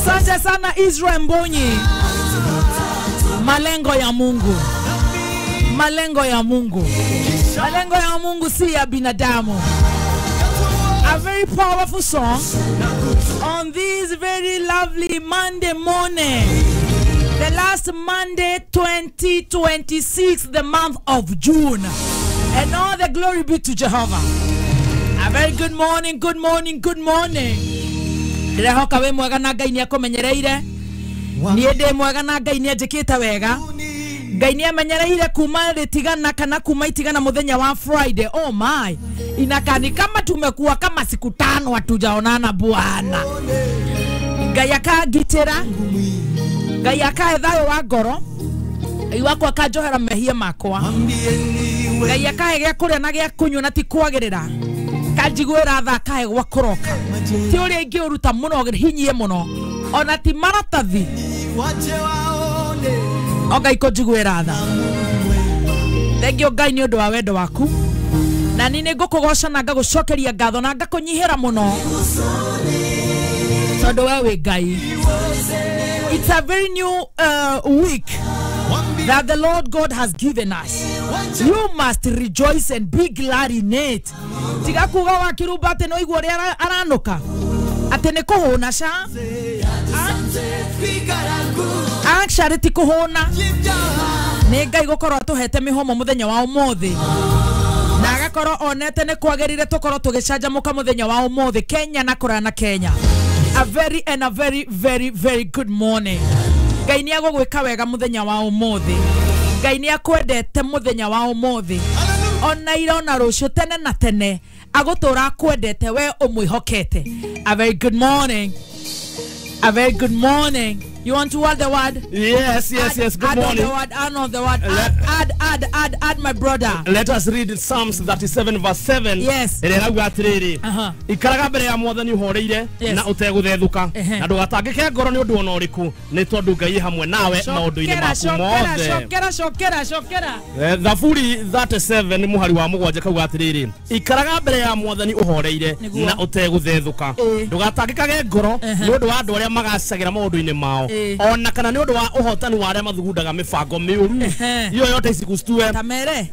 Asante sana Israel Mbonyi. Malengo ya Mungu. Malengo ya Mungu. Malengo ya Mungu si ya binadamu. A very powerful song on this very lovely Monday morning. The last Monday 2026, the month of June. And all the glory be to Jehovah. A very good morning, good morning, good morning. Ndirehoka wi mwega na Ngai niakumenyereire. Nie ndi mwega na Ngai nianjikite wega. Ngai niamenyereire kuma ritigana kana kuma itigana muthenya wa Friday. Oh my. Inakani kama tumekuwa kama siku tano hatujaonana bwana. Ngai akangitira. Ngai akahe thayo wa ngoro. Ngai wakwa akanjohera mehia makwa. Ngai akahe gĩa kũrĩa na gĩa kũnyua na ti kwagĩrĩra. Kanjiguĩra tha akahe gwa kũroka. Ti ũrĩa ingĩũruta mũno hinyie mũno. Ona ti maratathi. O Ngai kũnjiguĩra tha. Thengio Ngai nĩ ũndũ wa wendo waku. Na niĩ nĩ ngũkũgoca na ngagũcokeria ngatho na ngakũnyihĩra mũno. Tondũ we wĩ Ngai. It's a very new week that the Lord God has given us. You must rejoice and be glad in it. Tiga kuga wa kiruba ati no igua uria aranuka. Ati ni kuhuna sha. Actually ti kuhuna. Ni Ngai gukorwo atuhete mihomo muthenya wa umuthi. Na agakorwo onete ni kwagirire tukorwo tugicanjamuka muthenya wa umuthi Kenya na kurana Kenya. A very and a very very very good morning. Ngai ni agũgwĩka wega muthenya wa umuthi. Ngai ni akwendete muthenya wa umuthi. Ona ira ona rũciũ tene na tene agũtũra akwendete we ũmwĩhokete. A very good morning. A very good morning. You want to add the word? Yes, yes, yes. Good add morning. On the word, add on the word. Add, add, add, add, my brother. Let us read Psalms 37 verse 7. Yes. Ĩrĩa atĩrĩrĩ. Ikaraga mbere ya Mwathani ũhoreire na ũtegũthethũka na ndũgatangĩke ngoro nĩ ũndũ ona ũrĩkũ nĩ tondũ Ngai hamwe nawe maũndũ-inĩ maku mothe. Cokera, cokera, cokera. Thaburi 37 mũhari wa mũgwanja kauga atĩrĩrĩ. Ikaraga mbere ya Mwathani ũhoreire na ũtegũthethũka ndũgatangĩkage ngoro nĩ ũndũ wa andũ arĩa magacagĩra maũndũ-inĩ mao. Ona kana nĩ ũndũ wa ũhotani wa arĩa mathugundaga mĩbango mĩũru. Hiyo yote isikustue.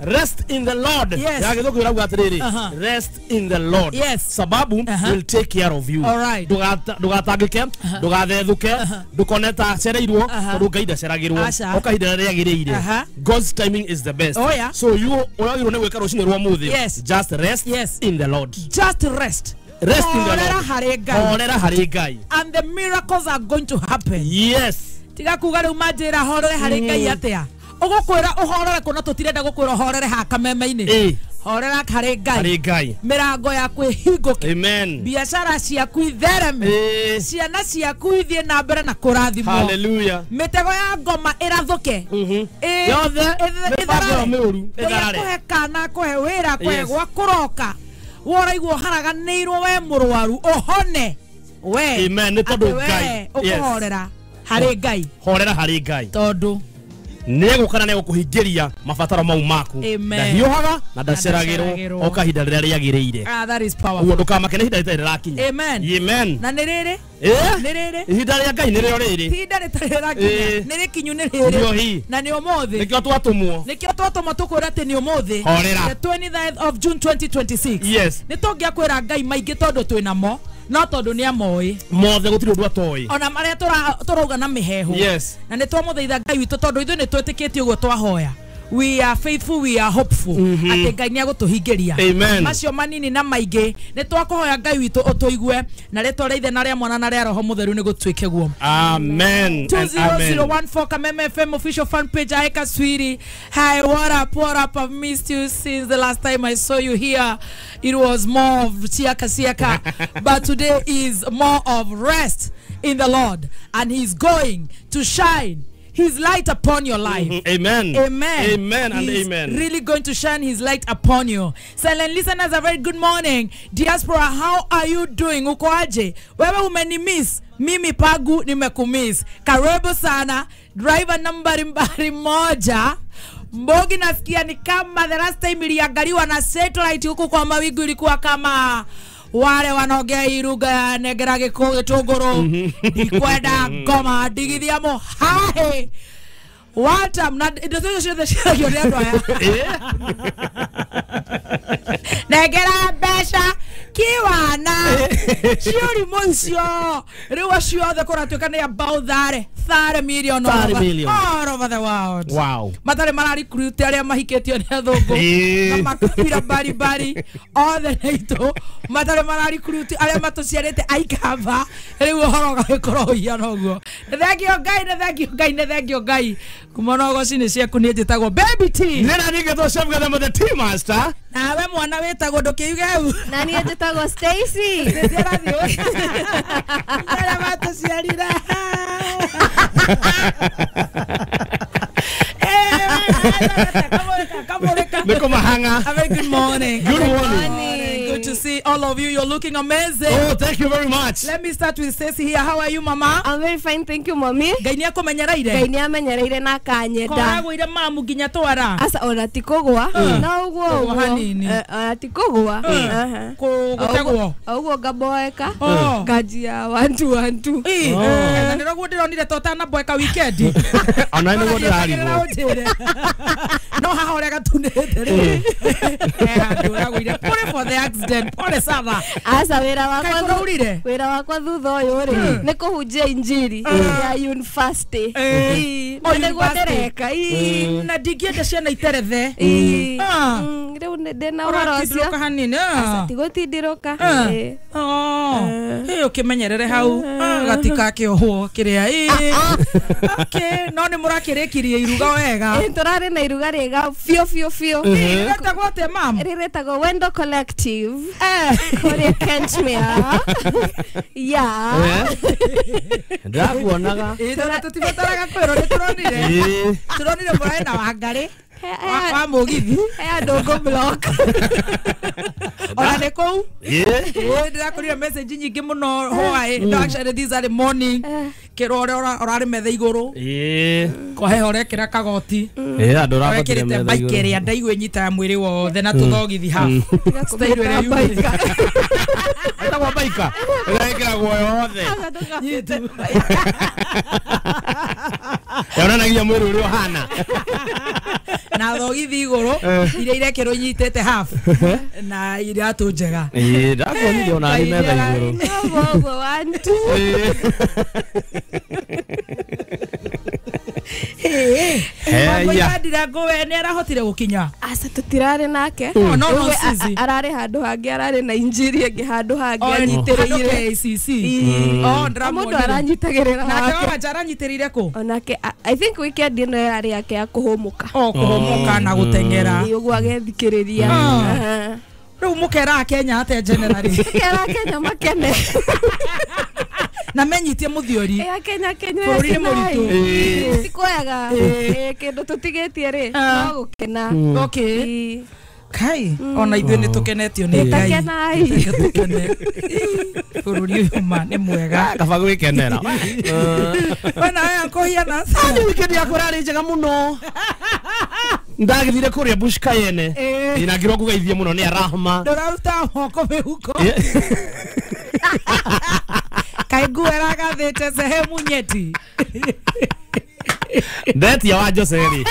Rest in the Lord. Yes. Ya gĩthũngũ ĩrauga atĩrĩrĩ. Rest in the Lord. Yes. Sababu will take care of you. All right. Ndũgatangĩke, ndũgathethũke, ndũkone ta acereirwo tondũ Ngai ndaceragĩrwo. O kahinda rĩrĩa rĩagĩrĩire. God's timing is the best. Oh, yeah. So you ũragĩrwo nĩ gwĩka rũcinĩ rwa ũmũthĩ. Yes. Just rest in the Lord. Just rest. Rest in the Lord. Horera harĩ Ngai. And the miracles are going to happen. Yes. Tiga kuga riu manjira horere harĩ Ngai atia. Ũgũkwĩra ũhorere kũna tũtirenda gũkwĩra ũhorere ha kameme-inĩ. Horera harĩ Ngai. Harĩ Ngai. Mĩrango yaku ĩhingũke. Amen. Biacara ciaku ithereme. Ciana ciaku ithiĩ na mbere na kũrathimwo. Hallelujah. Mĩtego ya ngoma ĩrathũke. Yothe mĩbango mĩũru ĩtharare. Kũhe kana kũhe wĩra kũhe gwa kũroka. Woraigwo haraganĩirwo we mũrwaru ũhone we. Amen. Nĩ tondũ Ngai ũkũhorera harĩ Ngai. Horera harĩ Ngai tondũ nĩegũka na nĩegũkũhingĩria mabataro mau maku. Ndahiũhaga na ndaceragĩrwo o kahinda rĩrĩa rĩagĩrĩire. Ah, that is powerful. Ũguo ndũkamake nĩ ihinda rĩtarĩ rĩrakinya. Amen. Amen. Na nĩ rĩrĩ? Nĩ rĩrĩ? Ihinda rĩa Ngai nĩrĩo rĩrĩ. Ihinda rĩtarĩ rĩrakinya. Nĩ rĩkinyu nĩ rĩrĩ. Na nĩ ũmũthĩ. Nĩkĩo twatũmwo. Nĩkĩo twatũmwo tũkwĩra atĩ nĩ ũmũthĩ. Horera. The 29th of June 2026. Yes. Nĩ tũngĩakwĩra Ngai maingĩ tondũ twĩnamo. No tondũ nĩ amoĩ mothe gũtirĩ ũndũ atoĩ ona marĩa tũrauga na mĩhehu. Yes. Na nĩ twamũthaitha Ngai witũ tondũ ithuĩ nĩ twĩtĩkĩtie ũguo twahoya. We are faithful, we are hopeful. Atĩ Ngai nĩ agũtũhingĩria. Amen. Macio manini na maingĩ nĩ twakũhoya Ngai witũ ũtũigue na rĩtwa rĩa Ithe na rĩa Mwana na rĩa Roho Mũtheru nĩ gũtuĩke guo. Amen. 20014 Kameme FM official fan page. Aeka Swiri. Hi, what up, what up? I've missed you since the last time I saw you here. It was more of siaka siaka, but today is more of rest in the Lord, and he's going to shine his light upon your life. Amen. Amen. Amen and he's amen. Really going to shine his light upon you. Silent listeners, a very good morning. Diaspora, how are you doing? Uko aje? Wewe umenimiss, mimi pagu nimekumiss. Karibu sana. Driver nambari mbari moja. Mbogi nasikia ni kama the last time iliangaliwa na satellite huku kwa mawingu ilikuwa kama Wale wanaongea hii lugha ya negera gĩtũngũrũ ndikwenda ngoma ndigithia mũhahe watam na indo ciothe ciothe ciaragio nĩ andũ aya negera mbeca kiwana ciũrimũ icio rĩu acio othe kũratuĩka nĩ about 30 million all over the world. Wow. Matarĩ mararecruit arĩa mahikĩtio nĩ athũngũ na makabira mbarimbari othe nĩ aitũ matarĩ mararecruit arĩa matũciarĩte aikamba rĩu ũhoro ũgagĩkorwo ũhiana ũguo. Nĩ thengio Ngai, nĩ thengio Ngai, nĩ thengio Ngai kuma na ũgoci-inĩ ciaku niĩ njĩtagwo Baby T. Nĩ na ningĩ Chef Gathema the Tea Master. Nawe mwana wĩtagwo ndũkĩuge hau. Na niĩ njĩtagwo Stacy. Arĩa matũciarire. A very good morning. Good morning. Good to see all of you. You're looking amazing. Oh, thank you very much. Let me start with Stacy here. How are you, mama? I'm very fine, thank you, mommy. Ngai nĩ akũmenyereire. Ngai nĩ amenyereire na akanyenda. Koragwo mamu nginya twara. Aca ona ti kũgwa. No ũguo ũguo. Hanini. Ona ti kũgwa. Gũtegwo. Ũguo ngaboeka. Nganjia 1 2 1 2. Na nĩroguo ndĩronire to ũtanaboeka weekend. Ona nĩguo ndĩrarigwo. No haha ũrĩa gatunĩte rĩ. Handũ ũragũire. Pole for the accident. Pole sana. Aca wĩra wakwa wĩra wakwa thutha ũyũ rĩ nĩ kũhunjia injiri ya university. Na nĩguo ndĩreka. Na ndingĩenda ciana iterethe. Rĩu ndĩna ũhoro ũcio. Hanini. Aca tigũtindirũka. Ũkĩmenyerere hau gatikakĩohwo kĩrĩa. Okay, no nĩ mũrakĩrĩkirie iruga wega. Tũrarĩ na iruga rĩega biũ biũ biũ. Rĩretagwo atĩa mam? Rĩretagwo Wendo Collective. Kũrĩa Kentmere. Yeah. Ndakuonaga. Tũtibataraga kwĩrwo nĩ tũronire. Tũronire mũrarĩ na Wangarĩ. Wa mũgithi. Andũ ngũ block. Ona nĩ kũu? Ndĩrakorire message nyingĩ mũno hwaĩ. No actually this early morning. Kĩrwo ũrĩa ũrarĩ metha igũrũ. Kwa heho ũrekĩra kagoti. Andũ ũrabatire metha igũrũ. Bike ĩrĩa ndaigua ĩnyitaga mwĩrĩ wothe na tũthogithi half. Style ĩrĩa yumĩte. Ĩtagwo baika. Ĩrekĩragwo yothe. Yonanagia mwĩrĩ ũrĩa ũhana. Na thogithi igũrũ iria irekĩrwo inyitĩte half na iratũ njega. Ndakuonire ona arĩ metha igũrũ. Ũguo ũguo 1 2. Wamũigandira ngũwe nĩ arahotire gũkinya. Aca tũtirarĩ nake. No ararĩ handũ hangĩ, ararĩ na injiri ĩngĩ handũ hangĩ anyitĩrĩire. KCC. Mũndũ aranyitagĩrĩra nake. Wanja aranyitĩrĩire kũ? Onake I think weekend ĩno yarĩ yake ya kũhũmũka. Kũhũmũka na gũteng'era. Ũguo agethikĩrĩria. Rĩu mũkera Kenya atĩa generally? Mũkera Kenya makene. Na menyitie mũthiori. Kenya Kenya bũrũri nĩ mũritũ. Ti kwega. Kĩndũ tũtigĩtie rĩ no gũkena. Okay. Kai ona ithuĩ nĩ tũkenetio nĩ Ngai. Takenai. Tũkene. Bũrũri ũyũ ma nĩ mwega. Kaba gwĩkenera. We nawe akũhiana. Ni weekend yakwa ĩrarĩ njega mũno. Ndagĩthire kũrĩa Bush Cayenne. Na ngĩrwo ngũgeithie mũno nĩ Arahma. Ndũraruta moko mĩhuko. Kaĩ nguo ĩragathĩte sehemu nyeti. Ndetia wa Jose rĩ.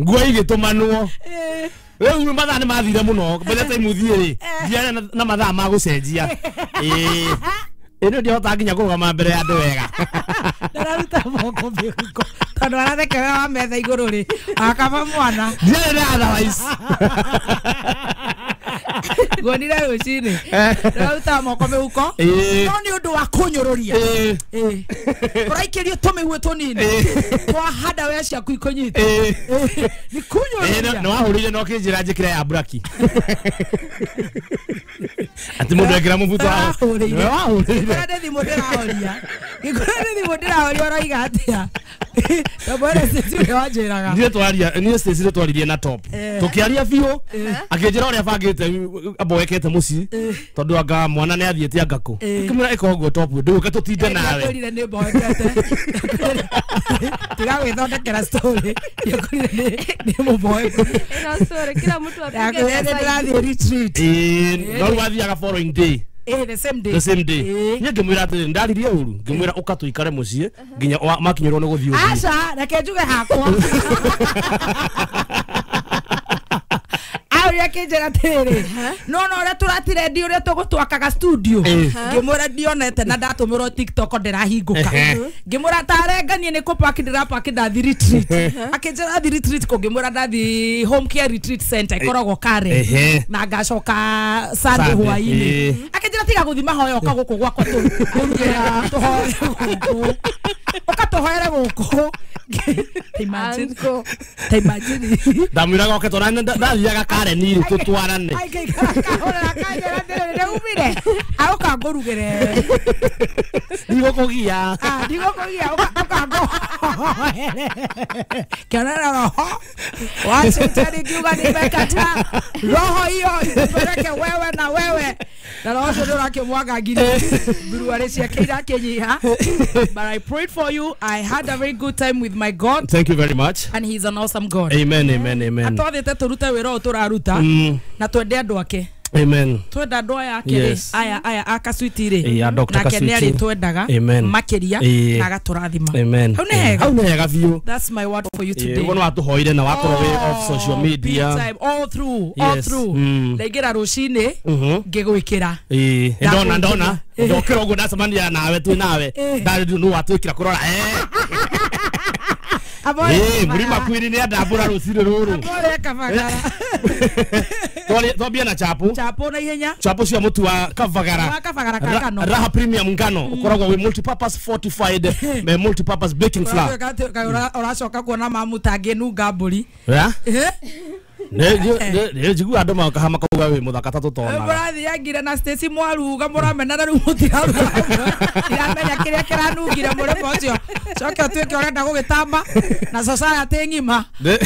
Nguo igĩtũmanwo. Rĩu mathaa nĩ mathire mũno. By the time ũthiĩ rĩ, ndiarĩ na mathaa ma gũcenjia. Ĩno ndihota nginya kũrũgama mbere ya andũ wega. Ndararuta moko mĩhuko. Tondũ arathekerera wa metha igũrũ rĩ, akaba mwana. Ndiarĩ na otherwise. Nguonire rũcinĩ. Ndararuta moko mĩhuko. No nĩ ũndũ wa kũnyũrũria. Ũraikĩrio tũmĩguĩ tũnini. Twahanda wea ciaku ikũnyita. Nĩ kũnyũrũria. Nĩ wahũrĩire na ũkĩnjĩra njĩkĩre ya braki. Atĩ mũndũ ekĩra mũbuto wahũrĩire. Wahũrĩire. Ngĩkora nĩ thimũ ndĩrahoria. Ngĩkora nĩ thimũ ndĩrahoria ũroiga atĩa? Tabore Stacy ũrĩa wanjĩraga. Niĩ twaria niĩ Stacy nĩ twaririe na top. Tũkĩaria biũ akĩnjĩra ũrĩa bangĩte amboekete mũciĩ tondũ anga mwana nĩ athiĩte anga kũ. Ngĩmwĩra ĩka ũguo top ndũke tũtinde nawe. Ndakwĩrire nĩ mboekete. Tiga gwĩthondekera story. Ndakwĩrire nĩ mũboeku. Ĩno story kila mtu apige. Ndakwĩrire ndĩrathiĩ retreat. No rĩu athiaga following day. The same day. The same day. Niĩ ngĩmwĩra atĩrĩ ndaririe ũru ngĩmwĩra ũka tũikare mũciĩ nginya makinyĩrwo nĩ gũthiĩ ũthiĩ. Aca reke njuge hakwa. Aria kĩnjĩra atĩrĩrĩ no no ũrĩa tũratirendi ũrĩa tũgũtwakaga studio ngĩmwĩra ndionete na ndatũmĩrwo TikTok ndĩrahingũka ngĩmwĩra tarenganie nĩ kũpaki ndĩrapaki ndathi retreat akĩnjĩra athi retreat kũ ngĩmwĩra ndathi home care retreat center ĩkoragwo Karen na ngacoka Sunday hwaĩ-inĩ akĩnjĩra tiga gũthiĩ mahoya ũka gũkũ gwakwa tũrugĩra tũhoere gũkũ ũka tũhoere gũkũ. Imagine. Imagine. Ndamwĩraga oke twarane ndathiaga Karen rĩ tũtwarane. Aikahũrĩra kanjĩra atĩrĩrĩ nĩumire aũka ngũrugĩre. Ndigũkũgia. Ndigũkũgia ũka ngũhoere. Kĩonera roho wa shetani kiuga nimekataa roho hiyo ikupeleke wewe na wewe na roho ũcio nĩũrakĩmwangangire mburuarĩ ciake irakĩnyiha. But I prayed for you. I had a very good time with my God. Thank you very much. And he's an awesome God. Amen, amen, amen. Atwathĩte tũrute wĩra ũyũ tũraruta na twende andũ ake. Amen. Twenda andũ aya ake rĩ aya aya a Kaswiti rĩ nake nĩ arĩtwendaga makĩria na agatũrathima. Amen. Hau nĩ hega. Hau nĩ hega biũ. That's my word for you today. Ũguo nĩ watũhoire na wakorwo wĩ off social media. Big time, all through, all through. Ndaingĩra rũcinĩ ngĩgwĩkĩra. Ndona ndona ndokĩra ũguo ndacemania nawe twĩ nawe ndarĩ nĩ watwĩkĩra kũrora. Murima kwini nĩ andambũra rũcinĩ rũrũ. Abore Kabagara. Twambia na chapo. Chapo na ihenya. Chapo cia mũtu wa Kabagara. Wa Kabagara ka ngano. Raha premium ngano ũkoragwo wĩ multi-purpose fortified multi-purpose baking flour. Ũracoka kuona mamu tangĩnunga mbũri. Nĩ njiguaga andũ maoka makauga wĩ mũthaka ta tũtonaga. Mũrathiangire na Stacy mwaruga mũramenana rĩu mũtiraruga. Ndiramenya kĩrĩa kĩranungire mũrĩmo ũcio. Coke ũtuĩke ũrenda gũgĩtamba na society ng'ima. Rĩu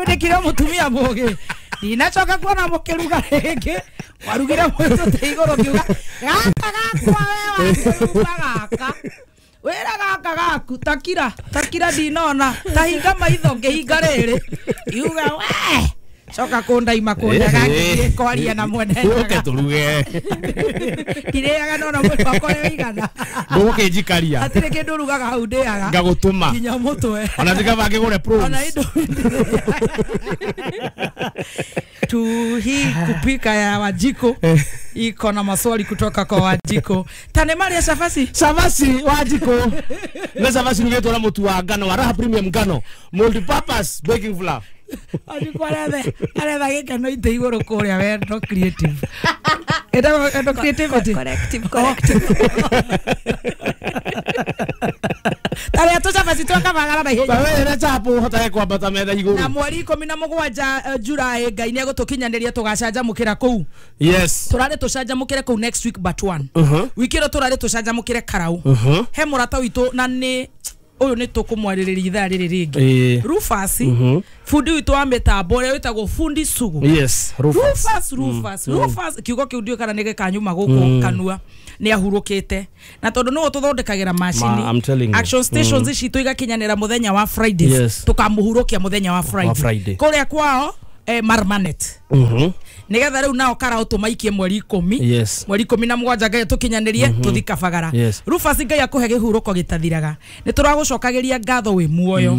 ndĩkire mũtumia mũgĩ. Ndinacoka kuona mũkĩruga rĩngĩ. Warugire mwĩtũte igũrũ ngiuga gaka gakwa we wakĩruga gaka. Wĩra gaka gaku takira takira ndinona tahinga maitho ngĩhinga rĩrĩ iuga we coka kũndaima kũndaga ngĩthiĩ kwaria na mwene ũke tũruge ndirĩaga nona mwĩrĩ wakwa ũrĩa ũigana ndũgũkĩnjikaria hatirĩ kĩndũ ũrugaga hau ndĩaga ngagũtũma nginya mũtwe ona tikaba ngĩgũre prawns ona indo tu hii kupika ya Wanjiko iko na maswali kutoka kwa Wanjiko. Tane Maria Chavasi. Chavasi Wanjiko. Na chavasi nĩgetwo na mũtu wa ngano wa Raha premium ngano multi-purpose baking flour. Wanjiko aretha gĩkeno itĩ igũrũ kũrĩa wendo creative. Endo creativity. Corrective, corrective. Taria tu chavasi twa Kabagara na ihenya. Tawe chapo ũhotage kwambata metha igũrũ. Na mweri 17 July Ngai nĩ egũtũkinyanĩria tũgacanjamũkĩra kũu. Yes. Tũrarĩ tũcanjamũkĩre kũu next week but one. Wiki ĩno tũrarĩ tũcanjamũkĩre Karau. He mũrata witũ na nĩ ũyũ nĩ tũkũmwarĩrĩria ithaa rĩrĩ rĩngĩ. Rufus fundi witũ wa mĩtambo ũrĩa wĩtagwo Fundi Sugu. Yes, Rufus. Rufus, Rufus kiugo kĩu ndiũĩ kana nĩ gĩkanyuma gũkũ kanua nĩ ahurũkĩte na tondũ nĩwe tũthondekagĩra macini action stations ici tũigakinyanĩra mũthenya wa Fridays tũkamũhurũkia mũthenya wa Friday kũrĩa kwao Marmanet nigetha rĩu nao Karau tũmaikie mweri 10 mweri 17 Ngai tũkinyanĩrie tũthi Kabagara. Rufus Ngai akũhe kĩhurũko gĩtathiraga nĩ tũragũcokagĩria ngatho wĩ muoyo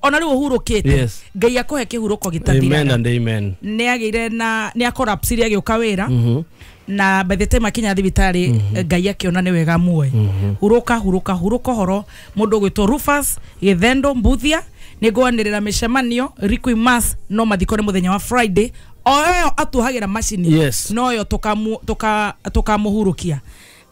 ona rĩu ũhurũkĩte Ngai akũhe kĩhurũko gĩtathiraga. Amen and amen. Nĩ agĩire na nĩ akorapsire agĩũka wĩra na by the time akinya thibitarĩ Ngai akiona nĩ wega muoyo. Huruka huruka huruka horo mũndũ ũgwĩtwo Rufus Gĩthendo Mbuthia nĩ ngwanĩrĩra mĩcemanio Requiem Mass no mathiko nĩ mũthenya wa Friday o ĩyo atuhagĩra macini no yo tũkamũhurũkia.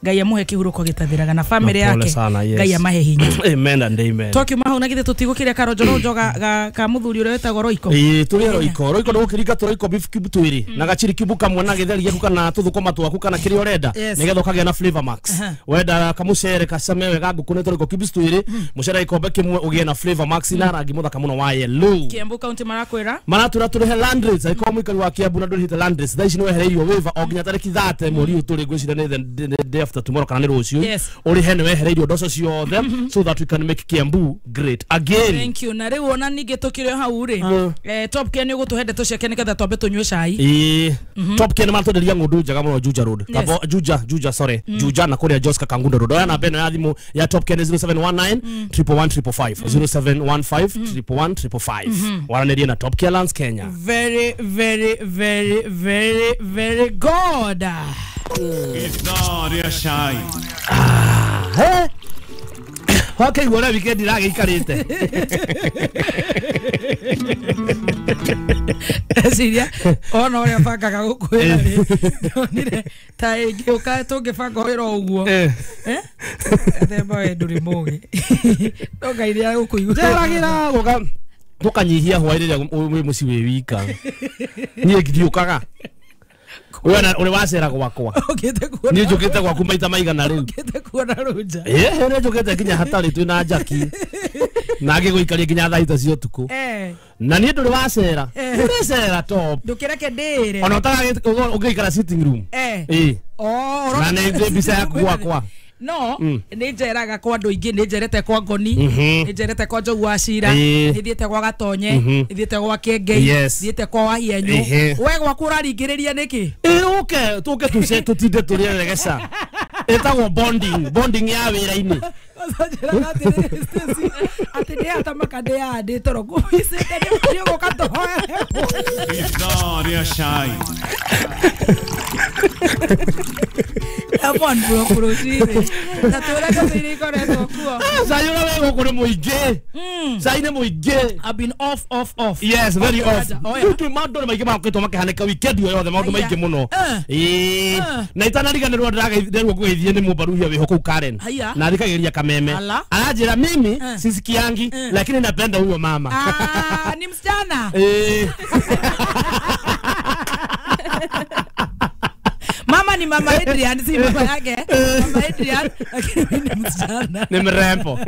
Ngai amuhe kihuruko gitathiraga na family yake. Ngai amahe hinya. Amen and amen. Twakiuma hau na githe tutigukiria karonjoronjo ga muthuri uria wetagwo Roiko. Ii turi Roiko. Roiko ndugukirika tu Roiko beef cube twiri na gachiri cube kamwe na githeri giaku kana tuthukuma twaku kana kiria urenda nigetha ukagia na flavor max. Wenda kamucere kacame wega nguku ni Roiko cubes twiri mucere gikombe kimwe ugie na flavor max na rangi muthaka muno wa yellow. Kiambu County marakwira maratura turihe land rates aiko muikari wa Kiambu na ndurihite land rates thaa ici ni wehereirio waiver o nginya tariki 30 mweri uyu turi ngwiciria ni the day after tomorrow kana ni rucio urihe ni wehereirio ndoco ciothe so that we can make Kiambu great again. Thank you. Na riu ona ningi tukire hau ri Top Ken ni ugutuhe ndeto ciake niketha twambe tunyue cai. Top Ken matwenderia ng'ondu njega muno Juja Road. Kabo Juja sorry Juja na kuria Joska Kangundo Road. Oya namba ĩno ya thimu ya Top Ken 0719 111 555 0715 111 555. Waranĩrie na Top Ken Lands Kenya. Very very very very very good. Ithaa rĩa cai. Okay, wala weekend iragĩikarĩte. Ciria ona ũrĩa bangaga gũkwĩra rĩ ndonire ta ĩngĩũka tũngĩbanga wĩra ũguo themba we ndũrĩ mũgĩ no Ngai nĩ agũkũigua. Njeragĩra gũka tũkanyihia hwaĩ rĩrĩa wĩ mũciĩ wĩ wika. Niĩ ndiũkaga. Wewe uri wacera gwakwa. Ni njukite gwaku maita maigana riu. Ukite kuona runja. Ni njukite nginya hatari twi na Jackie. Na ngiguikaria nginya thaa ita cia utuku. Na ni nduri wacera. Nduri cera top. Ndukireke ndire. Ona utagaga ungiikara sitting room. Oh, na ni mbica yaku gwakwa. No, ni njeraga kwa andu ingi, ni njerete kwa Ngoni, ni njerete kwa Njogu wa Cira, ni thiete kwa Gatonye, ni thiete kwa Kengei, thiete kwa Wahienyu. We gwaku uraringiriria niki? Uke, tuke tuce tutinde turie regeca. Etagwo bonding, bonding ya wira-ini. Ati ndi atamaka ndi andi toro kuicite ni uguka tuhoere. Ithaa rĩa cai. Amon bro kurutire. Na tura kathiri koretwo kuo. Cai ura we guku ni muingi. Cai ni muingi. I've been off off off. Yes, very off. Riu maundu ni maingi makitwo makihanĩka weekend yo yothe maundu maingi muno. Na itanariganĩrwo ndĩrageithĩrwo ngũgĩthiĩ nĩ mũmbaruhia wĩho kũu Karen. Na thikagĩria kameme. Aranjĩra mimi sisikiangi lakini napenda huyo mama. Ah, ni msichana. Mama ni mama Adrian, si mama yake. Mama Adrian, lakini ni msichana. Ni mrembo.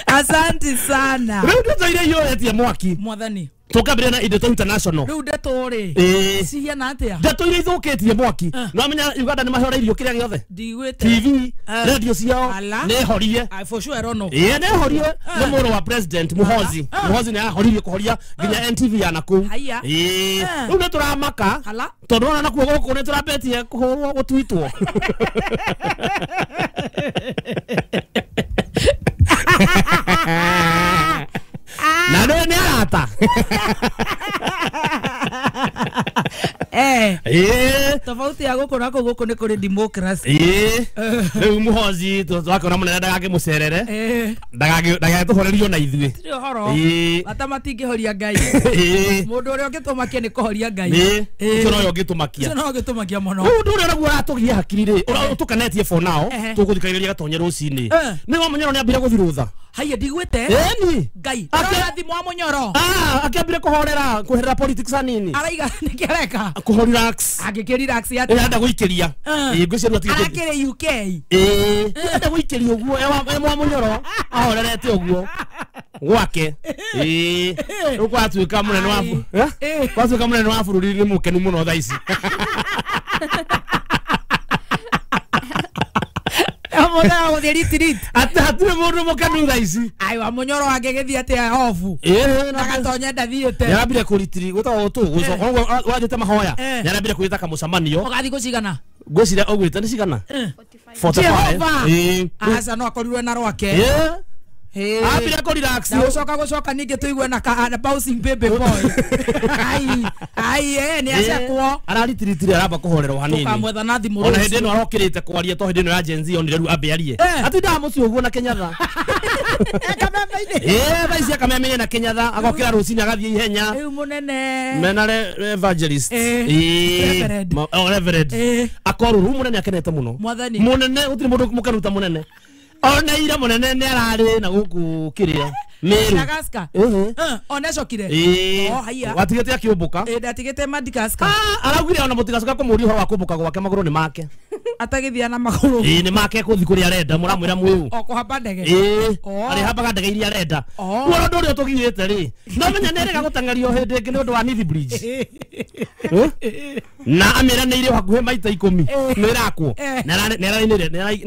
Asante sana. Rĩu ndeto iria iyũrĩtie mwaki. Mwathani. Tũkambĩrĩria na Ndeto International. Rĩu ndeto rĩ. Cihiana atĩa? Ndeto iria ithũkĩtie mwaki. No amenya Uganda nĩ mahoreirio kĩrĩa gĩothe. Ndiguĩte. TV, radio ciao nĩ horie. For sure I don't know. Nĩ horie. Nĩ mũrũ wa president Muhozi. Muhozi nĩ ahoririe kũhoria nginya NTV ya nakũu. Rĩu nĩ tũramaka. Tondũ ona nakuo gũkũ nĩ tũrambetie kũhũrwo gũtwitwo. Na nĩ nĩ arata. Tofauti ya gũkũ na kũu gũkũ nĩ kũrĩ democracy. Rĩu Muhozi twakĩona mũnene ndagakĩmũcerere. Ndagagĩtũhorerio na ithuĩ. Tirĩ ũhoro. Bata matingĩhoria Ngai. Mũndũ ũrĩa ũngĩtũmakia nĩ kũhoria Ngai. Ũcio nowe ũngĩtũmakia. Ũcio nowe ũngĩtũmakia mũno. Rĩu ũndũ ũrĩa naguo ũratũgia hakiri rĩ, ũtũkenetie for now, tũgũthikagĩrĩria Gatonye rũcinĩ. Nĩ wa Mũnyoro nĩambire gũthiĩ rũtha. Haiya ndigwĩte. Ĩni. Ngai. Arora thimũ wa Mũnyoro. Akĩambire kũhorera, kũherera politics hanini. Araiga nĩkĩ areka? Kũho relax. Angĩkĩ relax atĩa? Arenda gũikĩria. Ngwĩciria atigĩte. Arakĩrĩ UK. Arenda gũikĩria ũguo, e mwa Mũnyoro ahorerete ũguo gwake. Rĩu gwatuĩka mũnene wa gwatuĩka mũnene wa bũrũri nĩ mũkenu mũno thaa ici. Amona gũthiĩ retreat. Atĩ hatirĩ mũndũ mũkenu thaa ici. Ai wa Mũnyoro angĩgĩthiĩ atĩa ofu. Na Gatonye ndathiĩte. Nĩarambire kũritiri gwĩtagwo tũ gũcoka wathiĩte mahoya. Nĩarambire kwĩta kamũcemanio. Ũgathiĩ gũcigana? Ngwĩciria ũgwĩte nĩ cigana? 45. Aca no akorirwe na rwake. Ambire kũ relax. Na gũcoka ningĩ tũigue na bouncing baby boy. Ai ai nĩ acekwo. Araritiritire aramba kũhorerwo hanini. Tũkamwetha na thimũ Ona hĩndĩ ĩno arokĩrĩte kwaria to hĩndĩ ĩno ya Gen Z onire rĩu ambe arie. Atindaga mũciĩ ũguo na Kenyatta. Kameme-inĩ. Ĩĩ thaa ici akameme na Kenyatha agokĩra rũcinĩ agathiĩ ihenya. Rĩu mũnene. Mena evangelist. Ĩĩ. Ĩĩ. Oh, Reverend. Ĩĩ. Akorwo rĩu mũnene akenete mũno. Mwathani. Mũnene gũtirĩ mũndũ mũkenu ta mũnene. Ona ira mũnene nĩ ararĩ na gũkũ kĩrĩa. Meru. Madagascar. Ĩhĩ. Ona cokire. Ĩĩ. Oh, haiya. Watigĩte akĩũmbũka. Ĩĩ ndatigĩte Madagascar. Araugire ona mũtigacoka kũmũria ũhoro wa kũmbũka gwake magũrũ nĩ make. Atagĩthia na magũrũ. Ĩĩ nĩ make kũthi kũrĩa arenda mũramwĩra mwĩũ. O kũhamba ndege. Ĩĩ. Oh. Arĩhambaga ndege iria arenda. Oh. Kuona ũndũ ũrĩa ũtũgiĩte rĩ. No menya nĩ erĩga gũteng'erio hĩndĩ ĩngĩ nĩ ũndũ wa Nithi Bridge. Na amĩranĩire hakuhĩ maita 10 nĩ ĩrakwo. Na nĩ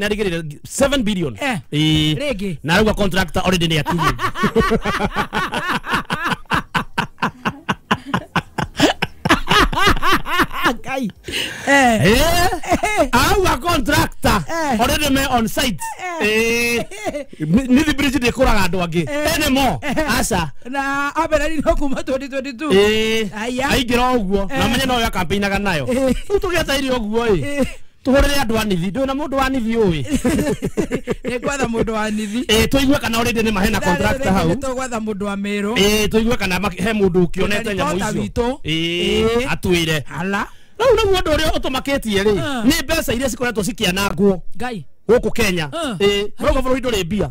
arĩgĩrĩire 7 billion. Ĩĩ. Rĩngĩ. Na arauga contractor already nĩ akinyu. Ngai. Auga contractor already me on site. Nithi Bridge ndĩkũraga andũ angĩ. Anymore. Aca. Na ambererirwo kuma 2022. Aya. Aingĩra ũguo na menye no yo campaignaga nayo. Rĩu tũgĩetereire ũguo ĩ. Tũhũrĩre andũ a Nithi. Ndũĩ na mũndũ wa Nithi ũĩ. Nĩ gwetha mũndũ wa Nithi. Ĩĩ tũigue kana already nĩ mahena contractor hau. Nĩ tũgwetha mũndũ wa Meru. Ĩĩ tũigue kana he mũndũ ũkĩonete nyamũ Reporter icio. witũ. Ĩĩ atwĩre. Ala. Rĩu nĩguo ũndũ ũrĩa ũtũmakĩtie rĩ nĩ mbeca iria cikoretwo cikĩanangwo Ngai. gũkũ Kenya. Ĩĩ rauga bũrũri ndũrĩ mbia.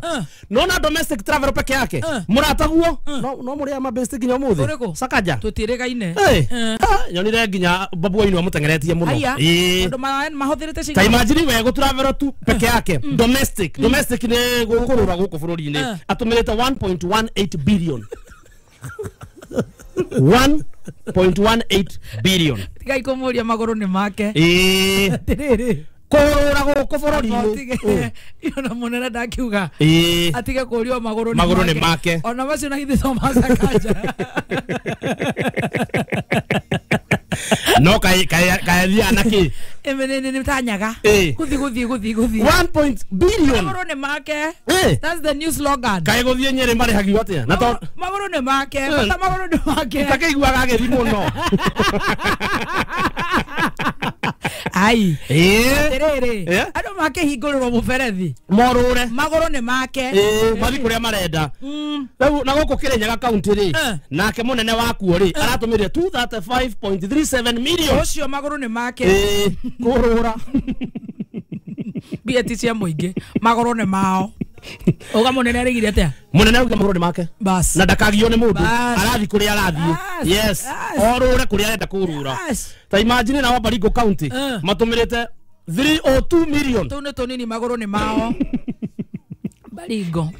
Nona domestic travel peke yake mũrataguo no mũrĩa mabesti nginya ũmũthĩ. Ũrĩkũ? Sakaja. Tũtiĩrĩgaine. Nyonire nginya babu wainu amũteng'eretie mũno. Haiya. Ĩĩ. Tondũ mahũthĩrĩte Ta cigana. imagine we gũ travel tu peke yake domestic domestic nĩ gũkũrũra gũkũ bũrũri-inĩ atũmĩrĩte 1.18 billion. 1.18 billion. Ngai kũmũria magũrũ nĩ make. Ĩĩ. Atĩrĩrĩ. Kũrũra gũkũ bũrũri-inĩ. Atige. Ona mũnene ndakiuga. Ĩĩ. Atige kũrio magũrũ Magũrũ nĩ make. Ona macio na githĩ to ma Sakaja. No kaĩ kaĩ na kĩ. Nĩ ta nyaga. Ĩĩ. Gũthiĩ gũthiĩ gũthiĩ gũthiĩ. 1 point billion. Magũrũ nĩ make. Ĩĩ. That's the new slogan. Kaĩ gũthiĩ Nyĩrĩ marĩhagio atĩa? Na to Magũrũ nĩ make. Bata magũrũ nĩ make. takĩiguaga agĩthiĩ mũno. Ai. Ĩĩ. Atĩrĩrĩ. Ĩĩ. Andũ makĩhingũrĩrwo mũberethi. Morũre. Magũrũ nĩ make. Ĩĩ mathiĩ kũrĩa marenda. Rĩu na gũkũ Kĩrĩnyaga kaunti rĩ nake mũnene wakuo rĩ aratũmĩrire 235.37 million. Ũcio magũrũ nĩ make. Ĩĩ kũrũra. Mbia ti cia mũingĩ. Magũrũ nĩ mao. Uga mũnene arĩgire atĩa? Mũnene auga magũrũ nĩ make. Bas. Na ndakagio nĩ mũndũ. Bas. Arathiĩ kũrĩa arathiĩ. Yes. Orũre kũrĩa arenda kũrũra. Ta imagine na wa Baringo County matũmĩrĩte 302 million. Tũu nĩ tũnini magũrũ nĩ mao. Baringo.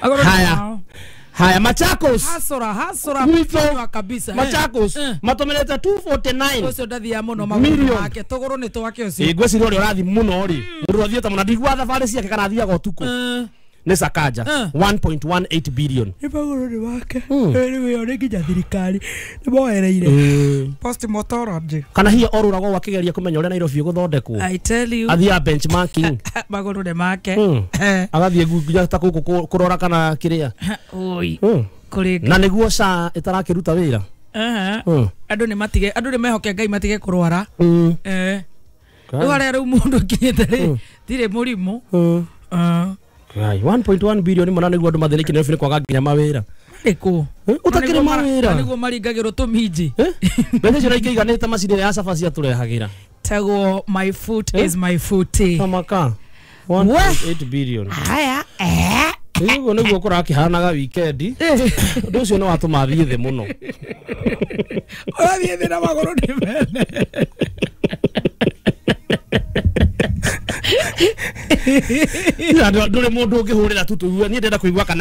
Magũrũ nĩ mao. Haya Machakos. Hasora hasora kabisa. Machakos matũmĩrĩte 249. Ũcio ndathiaga mũno magũrũ make. Tũgũrũ nĩ twake ũcio. Ĩĩ ngwĩciria ũrĩa ũrathiĩ mũno rĩ. Mũndũ athiĩte mũno ndiguaga thabarĩ ciake kana athiaga ũtukũ. Nĩ Sakaja 1.18 billion. Nĩ magũrũ nĩ make. Rĩu ĩyo nĩ nginya thirikari nĩ moereire. Postmortem. Kana hihi orũragwo akĩgeria kũmenya ũrĩa Nairobi ĩgũthondekwo. I tell you. Athiaga benchmarking. Magũrũ nĩ make. Agathiĩ nginya ta gũkũ kũrora kana kĩrĩa. Oi. Kũrĩ. Na nĩguo SHA ĩtarakĩruta wĩra. Andũ nĩ matige, andũ nĩ mehoke Ngai matige kũrwara. Rĩu harĩa rĩu mũndũ akinyĩte rĩ, tirĩ mũrimũ. Ai 1.1 billion mwana nĩguo andũ mathĩnĩke nĩ kwaga nginya mawĩra. Marĩkũ? Ũtakĩrĩ mawĩra. Nĩguo maringagĩrwo tũminji. Mbeca icio ikĩiganĩte macini ya cabaci atũrehagĩra. Tagwo my foot is my foot. Tamaka 1.8 billion. Haya. Ũguo nĩguo kũrakĩhanaga weekend. Ũndũ ũcio nĩ watũma thiĩ thĩ mũno. Ũrathiĩ thĩ na magũrũ nĩ mene. Ndũrĩ mũndũ ũngĩhũrĩra tu tũigue niĩ ndĩrenda kũigua kana